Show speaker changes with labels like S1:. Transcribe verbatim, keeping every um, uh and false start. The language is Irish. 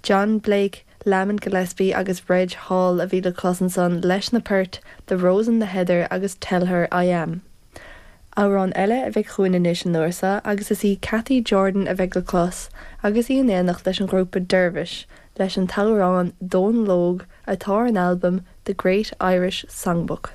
S1: John Blake, Lamont Gillespie agus Reg Hall a bhí le clos ansan leis na poirt, The Rose and the Heather agus Tell Her I Am. Amhrán eile a bheidh chugainn anois an uair seo agus is í Cathy Jordan a bheidh le clos agus í in éineacht leis an ghrúpa Dervish leis an t-amhrán Dónal Óg atá ar an albam The Great Irish Songbook.